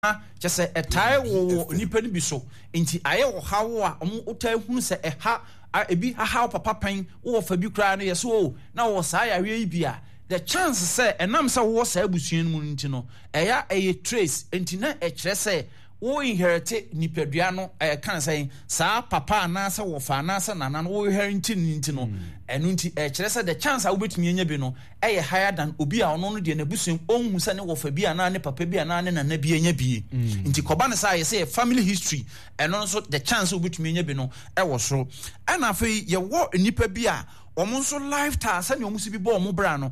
Kyerɛ sɛ ɛtae wowɔ nnipa no bi so nti ayɛ ɔhaw a wɔn wotae hunu sɛ ɛha ebi hahaw papa pɛn wowɔ fa bi koraa no yɛ so o na wɔwɔ saa yareɛ yi bi a the chance sɛ ɛnam sɛ wowɔ saa abusua no mu no nti no ɛyɛ ɛyɛ trace nti na ɛkyerɛ sɛ wo inherite nipadua no ɛka sɛ saa papa anaasɛ wɔfa anaasɛ nana no wo inherite no nti no ɛno nti ɛkyerɛ sɛ the chance a wobɛtumi anya bi no yɛ higher than obi a ɔno no deɛ n'abusua mu ɔnhu sɛ ne wɔfa bi anaa ne papa bi anaa ne nana bi anya bi. Mm. Nti kɔba no saa yɛsɛ yɛ family history ɛno nso the chance sɛ wobɛtumi anya bi no ɛwɔ soro. Ɛna afei yɛwɔ nnipa bi a wɔn nso lifestyle sɛnea wɔn si bi bɔ wɔn bra no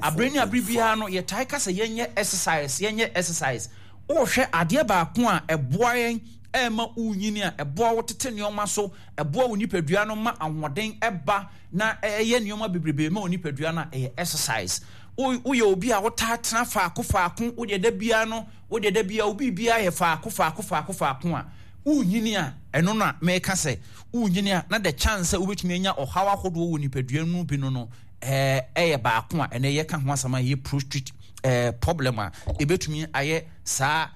abere ne abere biara no yɛtae ka sɛ yɛnyɛ exercise yɛnyɛ exercise. Wohwɛ adeɛ baako a ɛboa yɛn ɛma wonyini a ɛboa wo tete nneɛma so ɛboa wo nipadua no ma ahoɔden ɛba na ɛyɛ nneɛma bebrebe ma onipadua no a ɛyɛ exercise. Woyɛ obi a wotaa tena faako faako, wodeɛ da biara no, wodeɛ da biara obi biara yɛ faako faako faako faako a, wonyini a, ɛno na meka sɛ wonyini a na the chance sɛ wobɛtumi anya ɔhaw ahodoɔ wɔ nipadua no bi no no ɛyɛ baako a ɛnɛ yɛka ho asɛm a ɛyɛ prostate problem a ɛbɛtumi ayɛ saa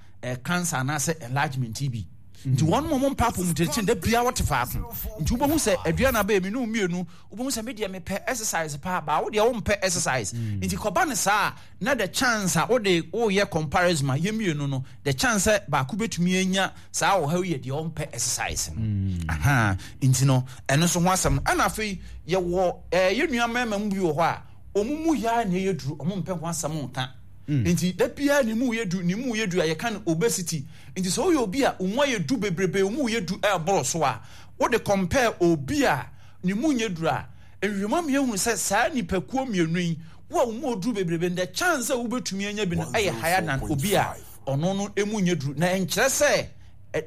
cancer anaasɛ enlargement bi. Nti wɔn mo mpa apɔmuden da biara wɔte faako. Nti wobɛhu sɛ aduane abɛyɛ me ne mmienu wobɛhu sɛ me deɛ mepɛ exercise paa baa wo deɛ wompɛ exercise. Mm. Nti kɔba no saa na the chance a wode woyɛ comparison ma yɛ mmienu no the chance sɛ baako bɛtumi anya saa ɔhaw yɛ deɛ ɔmpɛ exercise no. Mm. Aha nti no ɛno nso ho asɛm no ɛna afei yɛwɔ ɛɛ yɛ nua mmarima mu bi wɔ hɔ a wɔn mu yɛ a na ɛyɛ duru wɔn mpɛ ho asɛm nka. Mm. Nti da biara ne mu yɛ du ne mu yɛ du a yɛka no obesity. Nti sɛ woyɛ obi a wo mu ayɛ du bebrebe, wo mu yɛ du ɛreboro so a, wode compare obi a ne mu nyɛ duru a, nhwehwɛmu ama yɛahunu sɛ saa nnipakuo mmienu yi, wo a wo mu ɔduru bebrebe no, the chance sɛ wobɛtumi anya bi no ɛyɛ higher than obi a ɔno no emu nyɛ duru. Na ɛnkyerɛ sɛ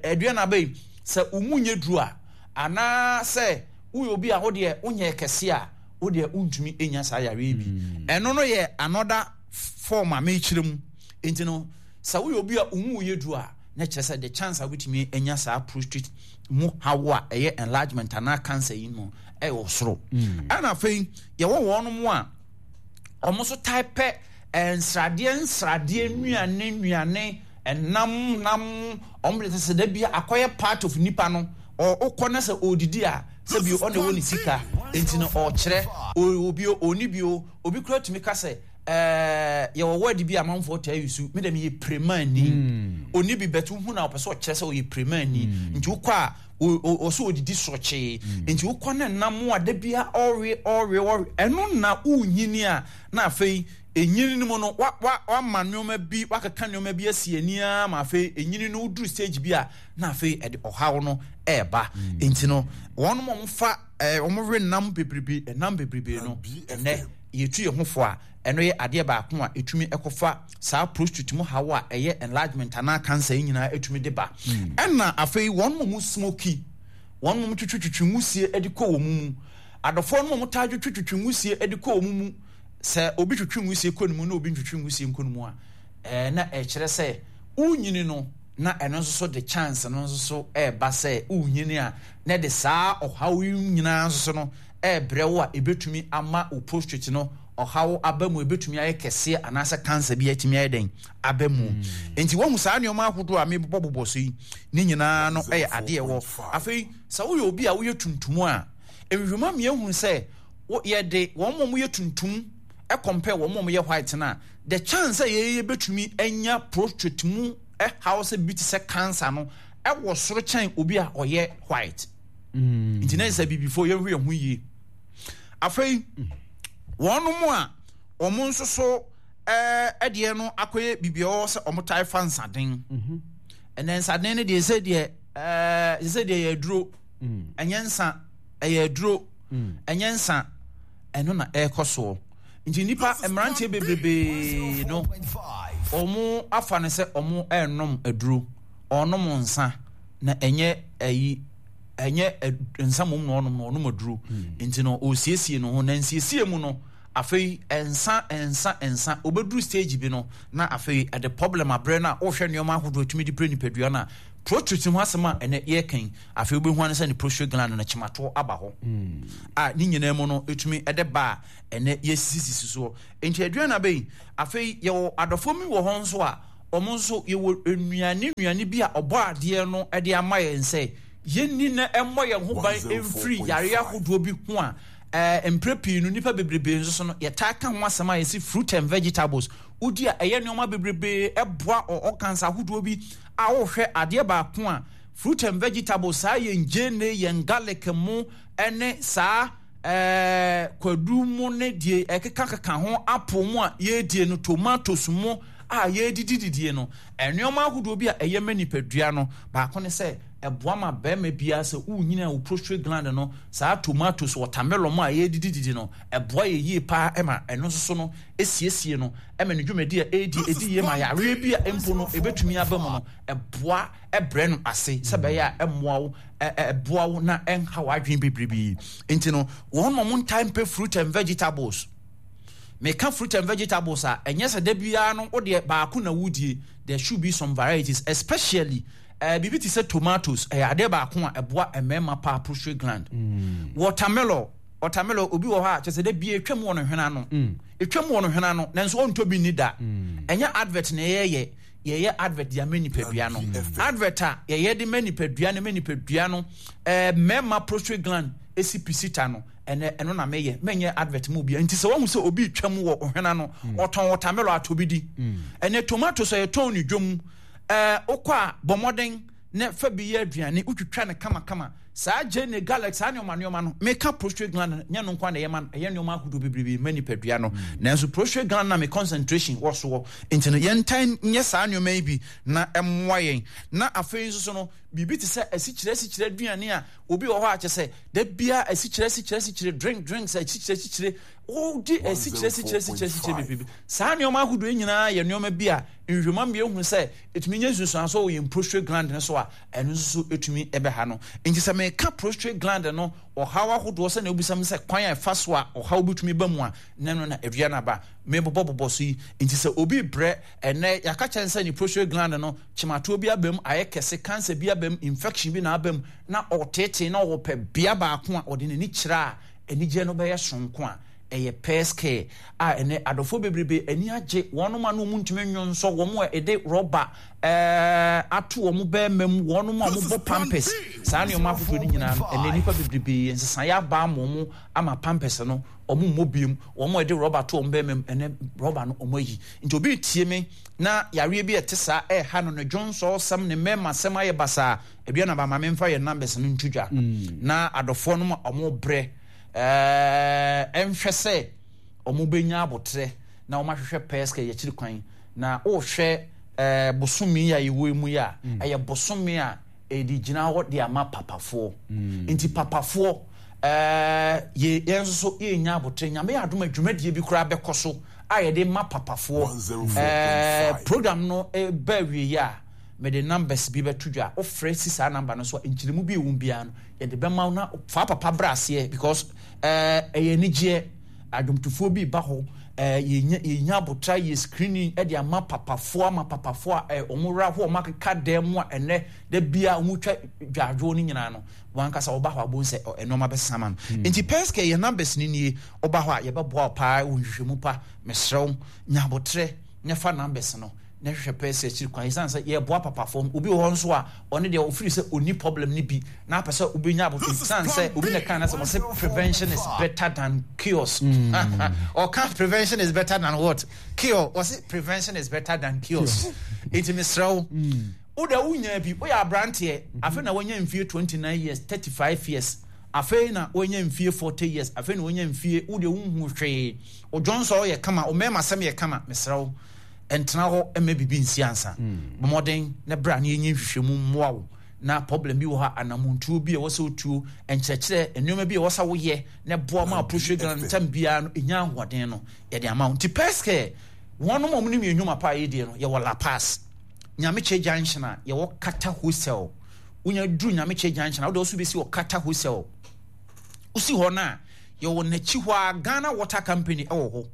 aduane aba yi, sɛ wo mu nyɛ duru a, anaa sɛ woyɛ obi a wo deɛ wonyɛ kɛse a, wo deɛ wontumi nya saa yareɛ yi bi. Ɛno no yɛ another form a mekyerɛ mu. Nti no, Sɛ woyɛ obi a wo mu yɛ duru a, na kyerɛ sɛ the chance a wobɛtumi anya saa prostate mu haw a ɛyɛ enlargement anaa cancer yi no ɛwɔ soro. Mm. Ɛna afei yɛwɔ wɔn mu a wɔn nso tae pɛ eh, nsradeɛ nsradeɛ nnuane nnuane ɛnam nam wɔn de sɛ da bi akɔyɛ part of nipa no ɔkɔ na sɛ ɔredidi a sɛ bi ɔna ɛwɔ ne sika nti no ɔkyerɛ obi ɔni bi o obi kura tumi ka sɛ Ɛɛ yɛwɔ word bi a amanfoɔ taa use, me deɛ meyɛ premani. Mm. Ɔni bi bɛt wohu na ɔpɛ sɛ ɔkyerɛ sɛ ɔyɛ premani. Mm. Nti wokɔ a ɔsɛ ɔdidi sɔkyee. Mm. Nti wokɔ ne nam a da bia ɔwe ɔwe ɔwe. Ɛno na wonyini a na afei enyini no mu no wa wa wama nneɛma bi wakeka nneɛma bi asi ani ara ma afei enyini no woduru stage bi a na afei ɛde ɔhaw no ɛɛba. Mm. Nti no wɔn a wɔfa ɛɛ wɔn we nam bebrebe nam bebrebe no ɛnɛ yɛtu yɛn ho fo a, ɛno yɛ adeɛ baako a ɛtumi kɔfa saa prostate mu haw a ɛyɛ enlargement anaa cancer yi nyinaa ɛtumi de ba. Hmm. Ɛna afei wɔn mu smoky, wɔn mu twitwitwitwi nwusie de kɔ wɔn mu. Adɔfoɔ no mu taa twitwitwitwi nwusie de kɔ wɔn mu. Sɛ obi twitwi nwusie kɔ ne mu na obi ntwitwi nwusie nkɔ ne mu a, ɛɛ na ɛkyerɛ sɛ wonyini no na ɛno nso so de chance no nso so ɛreba sɛ wonyini a na ɛde saa ɔhaw yi nyinaa nso so no rebrɛ wo a ebetumi ama wo prostate no ɔhaw aba mu, ebetumi ayɛ kɛseɛ anaasɛ cancer bi atumi ayɛ dɛn aba mu. Hmm. Nti wɔhu saa nneɛma ahodoɔ a mebobɔbobɔ so yi ne nyinaa no yɛ adeɛ wɔ. Afei sɛ woyɛ obi a woyɛ tuntum a, nhwehwɛmu ama yɛahunu sɛ yɛde wɔn a wɔyɛ tuntum compare wɔn a wɔyɛ white no a, the chance sɛ yɛyɛ bɛtumi anya prostate mu haw sɛ bi te sɛ cancer no ɛwɔ soro kyɛn obi a ɔyɛ white. Mm. Nti na sɛ bibifoɔ yɛnhwɛ yɛn ho yie. Afei wɔn mu a wɔn nso so ɛdeɛ no akɔyɛ biribi ɛwɔ sɛ wɔn tae fa nsaden. Mhm. Ɛnɛ nsaden no deɛ sɛ deɛ ɛɛ sɛ deɛ yɛ aduro. Mm. Ɛnyɛ nsa ɛyɛ aduro. Mm. Ɛnyɛ nsa ɛno na ɛrekɔ soɔ. Nti nipa mmeranteɛ bebrebe no wɔn afa no sɛ wɔn ɛrenom aduro wɔnom nsa. Na ɛnyɛ ayi ɛnyɛ nsa mmom na ɔnom no ɔnom aduro hmm. nti no ɔresiesie no ho na nsiesie mu no afei nsa nsa nsa obɛduru stage bi no na afei ɛde problem abrɛ no a wohwɛ nneɛma ahodoɔ atumi de brɛ nipadua no a prostate ho asɛm a ɛnɛ yɛkan afei wobɛhu ano sɛ ne prostate gland no kyematoɔ aba hɔ hmm. a ne nyinaa mu no ɛtumi ɛde ba a ɛnɛ yɛsisisisi soɔ nti aduane abɛyi afei yɛwɔ adɔfoɔ mi wɔ hɔ nso a. wɔn nso yɛwɔ nnuane nnuane bi a ɔbɔ adeɛ no de ama yɛn sɛ yɛnni na ɛmmɔ yɛn ho ban mfiri yareɛ ahodoɔ bi ho a ɛɛ mprɛ pii no nnipa bebrebe nso so no yɛtaa ka ho asɛm a yɛsi fruit and vegetables wodi a ɛyɛ nneɛma bebrebe ɛboa organs ahodoɔ bi a wohwɛ adeɛ baako a fruit and vegetables saa yɛn gyeene yɛn garlic mo ɛne saa ɛɛ kwadu mu ne deɛ ɛkekakeka ho apple mu a yɛredie no tomatoes mu a yɛredidididie no nneɛma ahodoɔ bi a ɛyɛ ma nipadua no baako ne sɛ ɛboa ma bɛrima biara sɛ wonyini a wo prostate gland no saa tomatoes watermelon mu a yɛredidididi no ɛboa yɛ yie paa ɛma ɛno nso so no esiesie no ɛma ne dwumadi a ɛredi ɛdi yie ma yareɛ bi a mpo no ɛbɛtumi aba mu no ɛboa ɛbrɛ no ase sɛ bɛyɛ a ɛmmoa wo ɛboa wo na ɛnha w'adwene bebrebe nti no wɔn na wɔn ntaa mpɛ fruit and vegetables meka fruit and vegetables a ɛnyɛ sɛ da biara no wodeɛ baako na wodie. There should be some varieties, especially biribi te sɛ tomatoes ɛyɛ adeɛ baako a ɛboa mmarima paa prostate gland. Watermelon, watermelon obi wɔ hɔ a kyerɛ sɛ da biara etwam wɔ ne hwene ano. Etwam wɔ ne hwene ano nanso ɔntɔ bi nni da. Ɛnyɛ advert na yɛyɛ, yɛyɛ advert de ama nipadua no. Advert a yɛyɛ de ma nipadua no ma nipadua no mmarima prostate gland esi pisita no ɛnɛ ɛno na meyɛ menyɛ advert mu obiara nti sɛ wahu sɛ obi retwam wɔ ɔhwene ano ɔtɔn watermelon atɔ bi di. Ɛnɛ tomatoes a yɛtɔn ne dwom ɛɛ wokɔ a bɔ mmɔden na fa bi yɛ aduane wotwitwa no kamakama saa gyeene garlic saa nneɛma nneɛma no meka prostate gland no nyɛ no nko na ɛyɛ ma no ɛyɛ nneɛma ahodoɔ bebrebe ma nipadua no nanso prostate gland na me concentration wɔ soɔ nti no yɛntan nyɛ saa nneɛma yi bi na ɛmmoa yɛn na afei nso so no biribi te sɛ asikyire asikyire aduane a obi wɔ hɔ a kyɛ sɛ da biara asikyire asikyire asikyire drink drinks asikyire asikyire wodi asikyire asikyire asikyire asikyire bebrebe saa nneɛma ahodoɔ yi nyinaa yɛ nneɛma bi a nhwehwɛmu ama yɛhu sɛ ɛtumi nya nsunsuansoɔ wɔ yɛn prostate gland no so a ɛno nso so ɛtumi ɛbɛha no nti sɛ meka prostate gland no ɔhaw ahodoɔ sɛ na wobisa me sɛ kwan a ɛfa so a ɔhaw bɛtumi ba mu a na ɛno na awia no aba mebobɔbobɔ so yi nti sɛ obi brɛ ɛnɛ yɛaka kyɛn sɛ ne prostate gland no kyematoɔ bi aba mu ayɛ kɛse cancer bi aba mu infection bi na aba mu na ɔtetee na ɔpɛ bea baako a ɔde n'ani kyerɛ a anigyeɛ no bɛyɛ sononko a ɛyɛ pairs care a ɛnɛ adɔfoɔ bebrebe ani agye wɔnom a na wɔn ntumi nnwonsɔ wɔn a ɛde rɔba ɛɛ ato wɔn bɛrima mu wɔnom a wɔbɔ pampers saa nneɛma ahodoɔ no nyinaa no ɛnɛ nnipa bebrebe nsesaeɛ aba ama wɔn ama pampers no wɔn mmɔ biem wɔn a ɛde rɔba to wɔn bɛrima mu ɛnɛ rɔba no wɔn ayi nti obi tie me na yareɛ bi a ɛte saa ɛreha no ne dwonsɔ sɛm ne mmarima sɛm ayɛ basaa Ebia na ba ma memfa yɛn numbers no nto dwa na adɔfoɔ no ma wɔn brɛ ɛɛ nhwɛ sɛ wɔn bɛnya abotrɛ na wɔn ahwehwɛ pɛɛ sɛ yɛkyiri kwan na wohwɛ ɛɛ bosome yi a yɛwɔ mu yi a ɛyɛ bosome a ɛde gyina hɔ de ama papafoɔ nti papafoɔ ɛɛ yɛ yɛn nso so yɛnya abotrɛ Nyame yɛ adom a dwumadie bi koraa bɛkɔ so a yɛde ma papafoɔ ɛɛ program no ɛba awieɛ a mede numbers bi bɛto dwa a wofrɛ si saa number no so a nkyerɛmu bi a ɛwɔ mu biara no yɛde bɛma wo na fa papa bra aseɛ because ɛɛ ɛyɛ anigyeɛ adwomtofoɔ bi ba hɔ ɛɛ yɛnya yɛnya abotra yɛ screening ɛde ama papafoɔ ama papafoɔ a ɛɛ wɔn wura hɔ wɔn akeka dan mu a ɛnɛ da bia wɔn twa dwadwoɔ no nyinaa no wɔn ankasa wɔba hɔ abom sɛ nneɛma bɛsesa ma no nti pɛskɛ yɛ numbers no nie wɔba hɔ a yɛbɛboa wo paa wɔ nhwehwɛmu pa mesrɛ wo nya abotrɛ na fa numbers no na hwehwɛ pɛɛ sɛ akyiri kwan ɛsiane sɛ yɛboa papafoɔ obi wɔ hɔ nso a ɔne deɛ ɔfiri sɛ ɔni problem no bi na apɛ sɛ wobɛnya aboto ɛsiane sɛ obi na kan na sɛ ɔsɛ prevention is better than cures. Ɔka prevention is better than what? Cure. Ɔsɛ prevention is better than cures. Nti mesrɛ wo wo deɛ wonya bi woyɛ aberanteɛ afei na woanya mfie 29 years 35 years afei na woanya mfie 40 years afei na woanya mfie wo deɛ wonhu hwee wo dwonsɔ yɛ kama wo mmarima sɛm yɛ kama mesrɛ wo ntena hɔ mma biribi nsi ansa. Bɔ mmɔden na bra na yɛnyɛ nhwehwɛmu mmoa wo na problem bi wɔ hɔ a anamontuo bi a ɛwɔ sɛ wotuo, nkyerɛkyerɛ, nneɛma bi a ɛwɔ sɛ woyɛ na ɛboa ma prostate gland ntam biara no ɛnya ahoɔden no yɛde ama wo. Nti Pɛskɛ wɔnom a wɔnim yɛn nnwuma pa a yɛdie no yɛwɔ La Paz, Nyamekyɛ Junction a yɛwɔ Kata Hostel. Wonya duru Nyamekyɛ Junction a wode wo so bɛsi wɔ Kata Hostel. Wosi hɔ no a yɛwɔ n'akyi hɔ a Ghana Water Company wɔ hɔ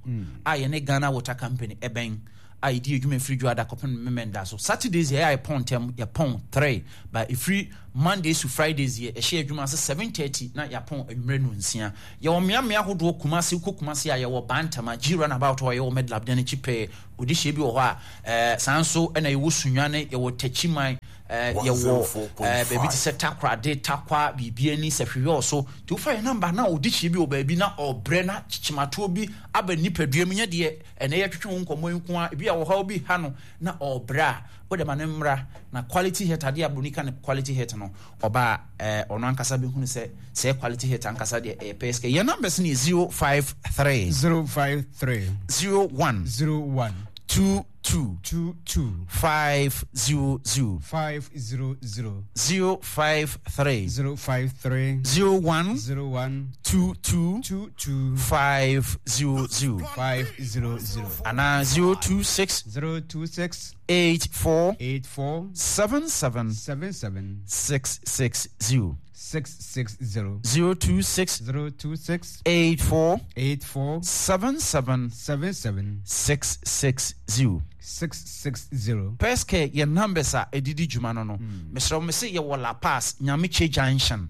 a yɛne Ghana Water Company ɛbɛn. a yɛdi adwuma ɛfiri Dwoada kɔpem Memenda so. Saturdays yɛ a yɛpɔn ntɛm, yɛpɔn 3, but ɛfiri Mondays to Fridays yɛ ɛhyɛ adwuma ase 7:30 na yɛapɔn anwummerɛ nonsia. Yɛwɔ mmeammea ahodoɔ Kumasi, wokɔ Kumasi a yɛwɔ Bantama, G runabout hɔ a yɛwɔ Medlab dan akyi pɛɛ, Odehyeɛ bi wɔ hɔ a, eh, saa nso na yɛwɔ Sunyani, yɛwɔ Takyiman, eh, yɛwɔ eh, baabi te sɛ Takorade, Takwa, biribi ani, Sɛhwewɛ so. Nti wofa yɛn namba na odehyeɛ bi wɔ baabi na ɔbrɛ na kyekyematoɔ bi aba nipadua mu, nyɛ deɛ ɛnɛ yɛtwetwe wo nkɔmmɔ yi nko ara, ebi a ɔhaw bi ha no na ɔbrɛ a, wode ma no mmra na quality hit adeɛ a buroni ka no quality hit no, ɔba a, eh, ɔno ankasa bɛhunu sɛ sɛ quality hit ankasa deɛ ɛyɛ pɛɛ sika. Yɛn numbers no yɛ 053. 053. 01. 01. 22. 22. 500. 500. 053. 053. 01. 01. 22. 22. 500. 500. Anaa 026. 026. 84. 84. 77. 77. 660. 660. 026. 026. 84. 84. 77. 77. 660. 660. Pɛskɛ yɛ numbers a ɛdidi dwuma no no. Mesrɛ wo, mese yɛwɔ La Paz, Nyamekye Junction.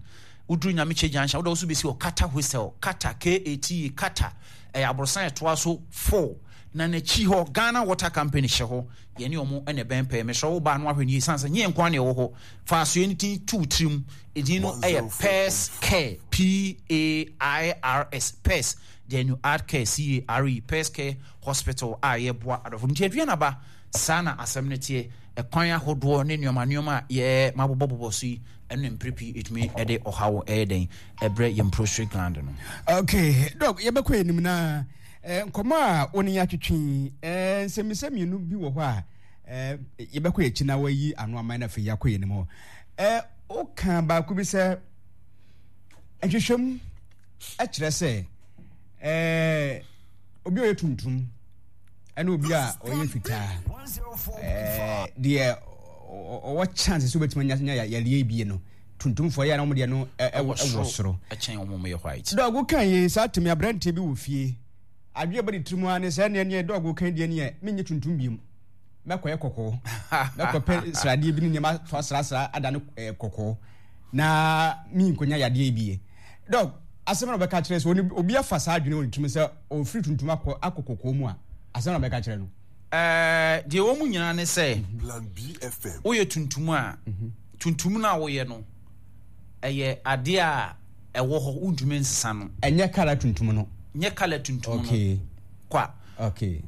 Woduru Nyamekye Junction, wode wo so bɛsi wɔ Kata Hostel, Kata, K-A-T-A, Kata. Ɛyɛ aborosan a ɛtoa so 4. Na n'akyi hɔ, Ghana Water Company hyɛ hɔ. Yɛne wɔn na ɛbɛn pɛɛ. Mesrɛ wo ba no ahwɛ no yie, sane sɛ nyɛ yɛn nko ara na yɛwɔ hɔ. Fa asoɛ no din to wo tirim. Edin no yɛ Pairs Care, P-A-I-R-S, Pairs, then you add Care, C-A-R-E, Pairs Care Hospital a yɛboa adɔfo. Nti Aduanaba, saa na asɛm no teɛ. Ɛkwan ahodoɔ ne nneɛma nneɛma a yɛ mabobɔbobɔ so yi, ɛno na mpere pii ɛtumi de ɔhaw ɛyɛ dɛn ɛbrɛ yɛn prostate gland no. Okay, Doc, yɛbɛkɔ anim na eh, nkɔmmɔ a wo ne yɛn atwetwe yi, eh, nsɛmmisa mmienu bi wɔ hɔ a eh, yɛbɛkɔ akyi na wayi ano ama na afei yɛakɔ yɛn anim hɔ. Eh, woka baako bi sɛ nhwehwɛmu kyerɛ sɛ eh, obi a ɔyɛ tuntum ɛne obi a ɔyɛ fitaa eh, deɛ ɔwɔ chance sɛ wobɛtumi anya yareɛ bi no tuntumfoɔ yɛ na wɔn deɛ no ɛwɔ soro ɛkyɛn wɔn yɛ white. Dɔg kan yi saa tumi aberanteɛ bi wɔ fie adwene bɔ ne tirim ara ne sɛ ɛneɛ neɛ dɔg kan deɛ neɛ menyɛ tuntum biom mɛkɔyɛ kɔkɔɔ mɛkɔpɛ sradeɛ bi ne nneɛma to asrasra ada no kɔkɔɔ na menkɔnya yadeɛ bi yɛ dɔg asɛm na ɔbɛka kyerɛ sɛ obi afa saa adwene wɔ ne tirim sɛ ɔfiri tuntum akɔ akɔ kɔkɔɔ mu a asɛm na ɔbɛka kyerɛ no. Ɛɛ deɛ wɔn mu nyinaa ne sɛ woyɛ tuntum a tuntum no a woyɛ no ɛyɛ adeɛ a ɛwɔ hɔ wontumi nsesa no. Ɛnyɛ kala tuntum no. Nyɛ kala tuntum no. Okay. Kwa. Okay.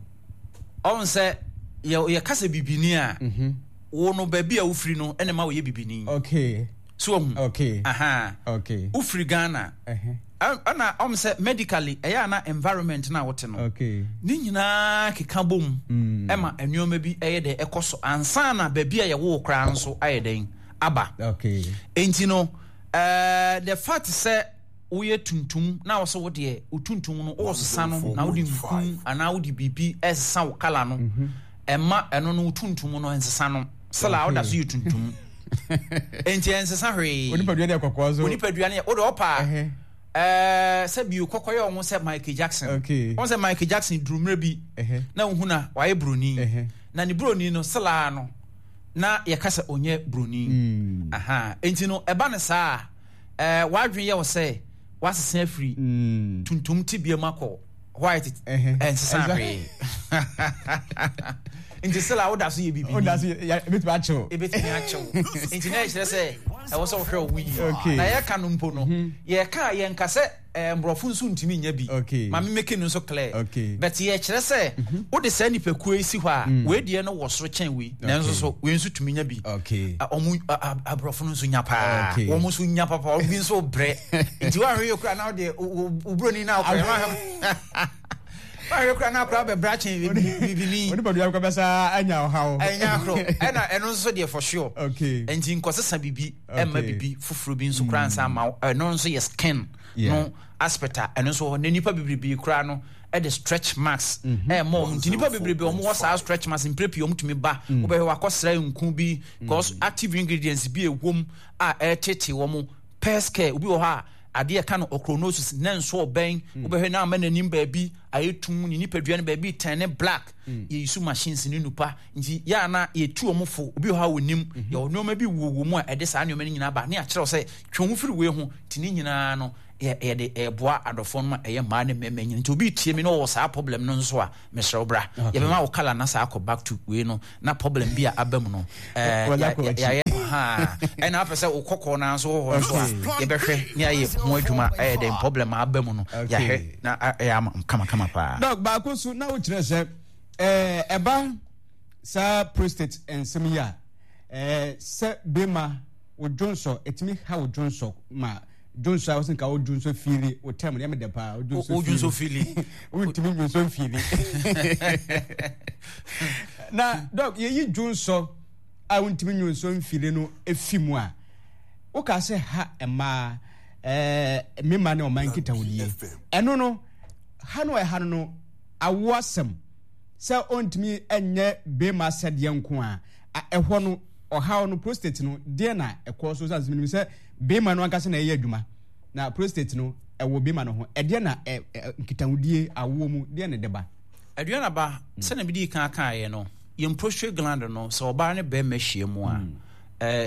Ɔn sɛ yɛ yɛka sɛ bibini a mm-hmm. wo no baabi a wofiri no ɛna ma woyɛ bibini. Okay. So ohun. Okay. Aha. Okay. Wofiri Ghana. Uh-huh. Ɛna ɔm sɛ medically ɛyɛ ana environment na wote no. Okay. Ne nyinaa keka bom mm. ɛma nneɛma bi ɛyɛ dɛ ɛkɔ so ansa na baabi a yɛwo koraa nso ayɛ dɛn aba. Okay. Enti no uh, the fact sɛ woyɛ tuntum na wɔsɛ wo deɛ wo tuntum no wɔsesa no na wode nku anaa wode biribi ɛsesa wo kala no mhm. ɛma ɛno no wo tuntum no ɛnsesa no sɛla woda so yɛ tuntum enti ɛnsesa hwee onipadua no yɛ kɔkɔɔ so onipadua no yɛ wode ɔpa ɛɛ sɛ bio kɔkɔ yɛ ɔho sɛ Michael Jackson wɔn sɛ Michael Jackson duru mmerɛ bi na wohu na wayɛ buroni na ne buroni no sɛla no na yɛka sɛ ɔnyɛ buroni mm. aha enti no ɛba no saa ɛɛ w'adwene yɛ wo sɛ w'asesa afiri mm. tuntum tebea mu akɔ white ɛnsesa hwee nti sɛla woda so yɛ bibi woda so yɛ ebetumi akyew ebetumi akyew nti na ɛkyerɛ sɛ ɛwɔ sɛ wohwɛ wo yie na yɛka no mpo no mhm. yɛka yɛnka sɛ Eh, mborɔfo nso ntumi nyɛ bi. Okay. Ma me make no nso clear. Okay. But yɛkyerɛ sɛ mhm. wode saa nipakuo yi si hɔ a, mm. wei deɛ no wɔ soro kyɛn wei. Nanso so wei nso tumi nya bi. Okay. Ɔmo aborɔfo no nso nya paa. Okay. Wɔn nso nya papa, obi nso brɛ. Nti woahwɛ yɛ kura na wode wo buroni na akɔyɛ. Woahwɛ kura na akora bɛbrɛ akyɛn bibini. Onipadua kɔ bɛsa anya ɔhaw. Ɛnya ahoro. Ɛna ɛno nso deɛ for sure. Okay. Nti nkɔsesa bibi. ɛmma bibi foforɔ bi nso koraa nsa ama wo ɛno nso yɛ skin no aspect a ɛno nso hɔ na nipa bebrebe koraa no ɛde stretch marks mhm. ɛmma wɔn nti nipa bebrebe wɔn wɔ saa stretch marks mpere pii wɔn tumi ba mm. wobɛhwɛ wakɔsra nku bi because mm. active ingredients bi ɛwom a ɛtete wɔn pɛs care obi wɔ hɔ a. adeɛ ɛka no ochronosis na nso ɔbɛn mm. wobɛhwɛ na ama n'anim baabi ayɛ tum ne nipadua no baabi tɛn ne black mm. yɛyi so machines ne nupa nti yɛ ana yɛtu wɔn fo obi wɔ hɔ a wɔnim mm-hmm. yɛwɔ nneɛma bi wɔ wɔ mu a ɛde saa nneɛma no nyinaa ba ne akyerɛw sɛ twe ho firi wei ho nti ne nyinaa no yɛde ɛboa adɔfoɔ no ma ɛyɛ mmaa ne mmarima nyina nti obi tie mi na ɔwɔ saa problem no nso a mesrɛ wo bra yɛbɛma wo kala na saa akɔ back to wei no na problem bi a aba mu no yɛayɛ ɛna apɛ sɛ wo kɔkɔɔ no nso wɔ hɔ nso a yɛbɛhwɛ ne ayɛ ho adwuma ɛyɛ dɛn problem aba mu no yɛahwɛ na ɛyɛ ama kamakama paa. Dɔk baako so na wokyerɛ sɛ ɛba saa prostate nsɛm yi a sɛ bema wo dwonsɔ ɛtumi ha wo dwonsɔ ma dwonsɔ a wɔsɛ nka wo dwonsɔ fiili wo tɛm no yɛ me dɛ paa wo dwonsɔ fiili wontumi dwonsɔ mfiili na dɔk yɛyi dwonsɔ a wontumi dwonsɔ mfiili no efi mu a woka sɛ ha mmaa ɛɛ mmarima ne ɔman nkitahodie ɛno no ha no ɛha no no awo asɛm sɛ ɔntumi nyɛ bɛrima sɛdeɛ nko a ɛhɔ no ɔhaw no prostate no deɛ na ɛkɔ so sɛ menim sɛ bɛrima no ankasa na ɛyɛ adwuma na prostate no ɛwɔ bɛrima no ho ɛdeɛ na ɛ ɛ nkitahodie awoɔ mu deɛ na ɛde ba. Aduana ba mm. sɛnea mede kan kaeɛ no yɛn prostate gland no sɛ ɔbaa ne bɛrima hyia mu a mm.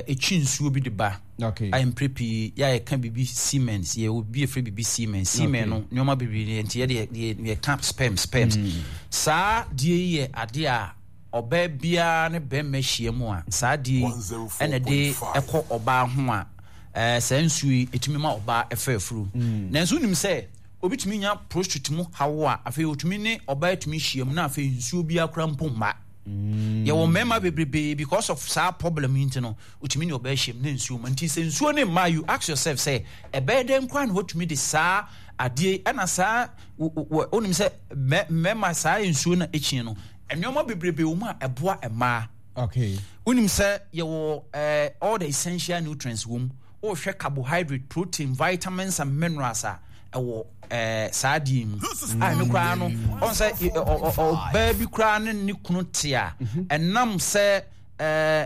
ɛtwi nsuo bi de ba okay. a mpere pii yɛ a yɛka biribi semen yɛ obi efiri biribi semen semen no nneɛma bebree nti yɛde yɛka sperm sperms mm. saa deɛ yi yɛ adeɛ a Ɔbaa biara ne barima hyia mu a, saa adeɛ yi na ɛde kɔ ɔbaa ho a, ɛɛ saa nsuo yi ɛtumi ma ɔbaa ɛfa afuru. Mm. Nanso wonim sɛ obi tumi nya prostrate mu haw a, afei otumi ne ɔbaa tumi hyia mu na afei nsuo biara koraa mpo mma. Mm. Yɛwɔ mmarima bebrebe because of saa problem yi nti no, otumi ne ɔbaa hyia mu na nsuo ma. Nti sɛ nsuo ne mma, you ask yourself sɛ ɛbɛyɛ dɛn koraa na watumi de saa adeɛ ɛna saa wonim sɛ mmarima saa nsuo na ɛkyi no Nneɛma bebrebe wɔ mu a ɛboa mmaa. Okay. Wonim sɛ yɛwɔ eh, all the essential nutrients wɔ mu. Wohwɛ carbohydrate, protein, vitamins and minerals a ɛwɔ eh, saa adeɛ yi mu. A ɛno koraa no, ɔn sɛ ɔbaa bi koraa ne ne kunu te a, mhm. ɛnam sɛ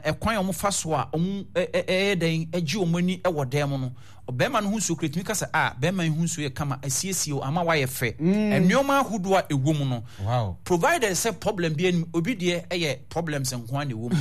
ɛkwan a wɔfa so a wɔn ɛyɛ dɛn gye wɔn ani wɔ dan mu no, Ɔbarima no ho nsuo kura tumi ka sɛ, ah, barima yi ho nsuo yɛ kama, asiesie o, ama wayɛ fɛ. Mm. Nneɛma ahodoɔ a ɛwɔ mu no, wow. provided sɛ problem bi anim, obi deɛ ɛyɛ problems nko ara na ɛwɔ mu.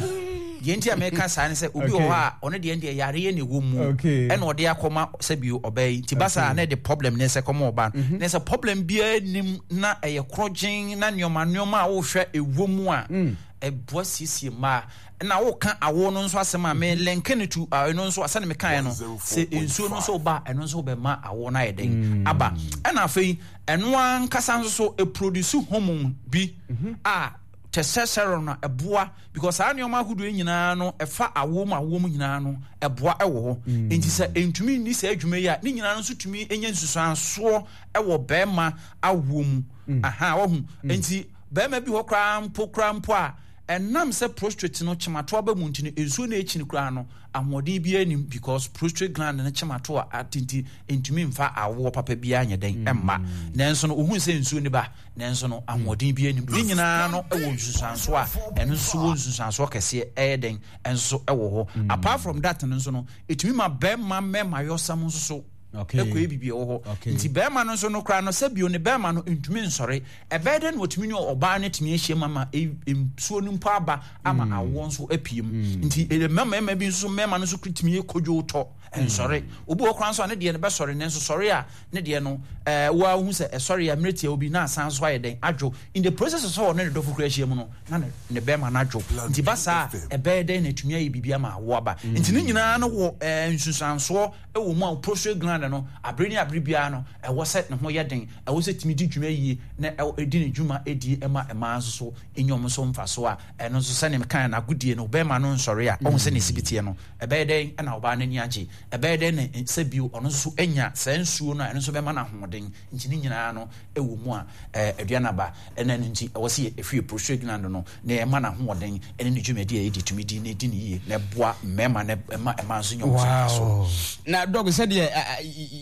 Deɛ nti a mɛka saa ne sɛ, obi wɔ hɔ a, ɔno deɛ deɛ yareɛ na ɛwɔ mu, ɛna ɔde akɔma sɛ bio ɔbaa yi. Nti ba saa na ɛde problem ne sɛ kɔma ɔbaa no. Mm-hmm. Ne sɛ problem biara nim na ɛyɛ korɔgyen na nneɛma nneɛma a wohwɛ ɛwɔ mu a, mm. ɛboa siesie mmaa. Na woka awo no nso asɛm a, me link no to ɛno nso sɛne mekaeɛ no, sɛ nsuo no nso ba a, ɛno nso bɛma awo no ayɛ dɛn mm. aba. Ɛna afei ɛno ankasa nso so ɛproduce hormone bi mhm. a testosterone no ɛboa because saa nneɛma ahodoɔ nyinaa no ɛfa awo mu awo mu nyinaa no ɛboa ɛwɔ hɔ mm. nti sɛ ɛntumi nni saa adwuma yi a ne nyinaa no nso tumi nya nsusuansoɔ ɛwɔ bɛrima awoɔ mu mm. aha wahu nti bɛrima bi hɔ koraa mpo koraa mpo a Ɛnam sɛ prostrate no kyematoa ba mu nti no, nsuo no a ɛkyini koraa no, ahoɔden biara nnim because prostrate gland no kyematoa ate nti ɛntumi mfa awoɔ papa biara nyɛ dɛn mma. Nanso no, wohunu sɛ nsuo no ba, nanso no, ahoɔden biara nnim. Ne nyinaa no wɔ nsunsuansoɔ a ɛno nso wɔ nsunsuansoɔ kɛseɛ ɛyɛ dɛn nso wɔ hɔ. Apart from that no nso no, ɛtumi ma bɛrima mmɛmayɔsɛm nso so ɛkɔyɛ biribi ɛwɔ hɔ. Nti bɛrima no nso no koraa no, sɛ bio ne bɛrima no ntumi nsɔre. Ɛbɛyɛ dɛn na watumi ne ɔbaa no atumi ahyia mu ama nsuo no mpo aba ama mm. awoɔ nso apue mu mm. nti mma mmarima bi nso mmarima no nso tumi yɛ kodwo tɔ nsɔre mm. Obi wɔ koraa nso a ne deɛ no bɛsɔre nanso sɔre a ne deɛ no ɛɛ wɔahu sɛ ɛsɔre a mmerɛ tia obi na asan so ayɛ dɛn adwo in the process sɛ ɔne ne dɔfo kura ahyia mu no na ne ne bɛrima no adwo nti ba saa ɛbɛyɛ dɛn na atumi ayɛ biribi ama awoɔ aba nti ne nyinaa no wɔ ɛɛ nsunsuansoɔ wɔ mu a prostate gland no abere ne abere biara no ɛwɔ sɛ ne ho yɛ den, ɛwɔ sɛ ɛtumi di dwuma yie na ɛdi ne dwuma die ma mmaa nso so nya wɔn so mfasoɔ a ɛno nso sɛdeɛ mekaeɛ no agodie no bɛrima no nsɔre a ɔhu sɛ ne sibi teɛ no ɛbɛyɛ dɛn na ɔbaa no ani agye, ɛbɛyɛ dɛn na sɛ bio ɔno nso so anya saa nsuo no a ɛno nso bɛma no ahoɔden nti ne nyinaa no wɔ mu a aduane aba ɛna ɛno nti ɛwɔ sɛ yɛhwie prostate gland no na yɛma no ahoɔden ɛne ne dwumadi a yɛdi tumi di na ɛdi no yie na ɛboa mmarima na ɛma mmaa nso nya wɔn so mfasoɔ. Na dɔg sɛdeɛ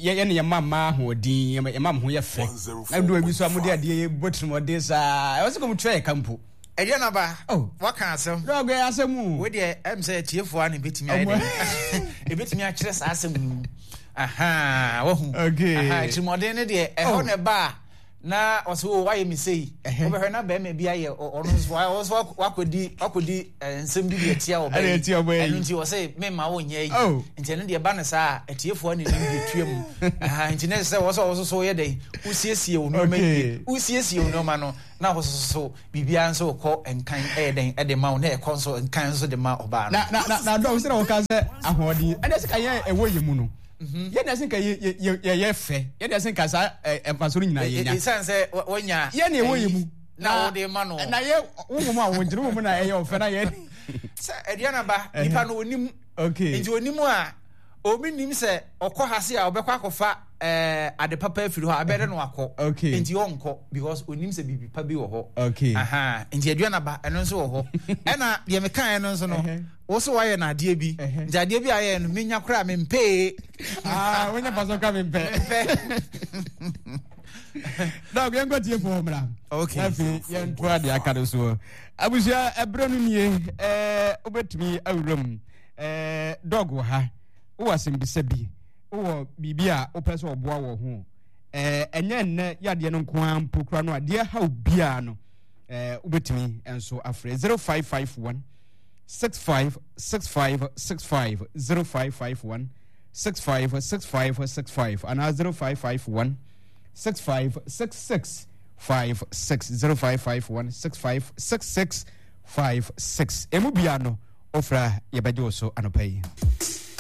yɛne yɛma mmaa ahoɔden yɛma mo ho yɛ fɛ na doa bi so a mode adeɛ yɛ bɔ tirimɔden saa ɛwɔ sɛ kɔm tua yɛ ka mpo. Aduane aba, oh. Waka asɛm. Dɔg ɛyɛ asɛm o. Wo deɛ ɛm sɛ atiefoɔ a na ɛbɛtumi ayɛ dɛ ɛbɛtumi akyerɛ saa asɛm mu. Aha, wahu. Okay. Aha, atirimɔden no deɛ ɛhɔ Oh. na ɛba a na ɔsɛ o wayɛ me sei. Wobɛhwɛ na bɛrima bi ayɛ ɔno nso ɔno nso wakɔdi wakɔdi eh, nsɛm bi de atia ɔbaa Ɛde yi. atia ɔbaa yi. Ɛno nti ɔsɛ memma wonyɛ yi. Oh. Nti ɛno deɛ ɛba no saa a atiefoɔ ne nim deɛ tua mu. Aha, nti na ɛsɛ sɛ wɔ sɛ wo nso so woyɛ dɛn wosiesie wo nneɛma Okay. yie. Wosiesie wo nneɛma no na wo nso so biribiara nso kɔ nkan ɛyɛ dɛn ɛde ma wo na ɛkɔ nso nkan nso de ma ɔbaa no. Na na na na dɔm sɛ na wɔka sɛ ahoɔden ɛna ɛsɛ ka yɛn ɛwɔ yɛn mu no yɛn na ɛsɛ ka yɛ yɛ yɛ yɛ fɛ yɛn na ɛsɛ ka saa ɛ mfaso no nyinaa yɛ nya. Ɛsiane sɛ wɔnya yɛn na ɛwɔ yɛn mu na wɔde ma no. Na yɛ wo mu a wɔn gyina wo mu na ɛyɛ ɔfɛ na yɛ. Sɛ aduana ba nipa no onim. Okay. Nti onim a obi nim sɛ ɔkɔ ha se a ɔbɛkɔ akɔfa ɛɛ ade papa afiri hɔ a ɛbɛyɛ dɛ na wakɔ. Okay. Nti ɔnkɔ because onim sɛ biribi pa bi wɔ hɔ. Okay. Aha nti aduana ba ɛno nso wɔ hɔ. Ɛna deɛ mekaeɛ no nso no wo so wayɛ no adeɛ bi nti adeɛ bi a ayɛ no menya koraa mempee. Ah wonya fa so ka mempɛ. Mempɛ. Dɔk yɛnkɔ tie fo mmra. Okay. Afei yɛntoa deɛ aka no soɔ. Abusua ɛberɛ no nie ɛɛ wobɛtumi awura mu ɛɛ dɔg wɔ ha wowɔ asɛmbisa bi wowɔ biribi a wopɛ sɛ ɔboa wɔ ho ɛɛ ɛnyɛ nnɛ yadeɛ no nko ara mpo kora no adeɛ haw biara no ɛɛ wobɛtumi nso afrɛ 0551 65 65 65 0551 65 65 65 anaa 0551 65 66 56 0551 65 66 56 emu bia no ofra yɛbɛgye wo so anɔpa yi.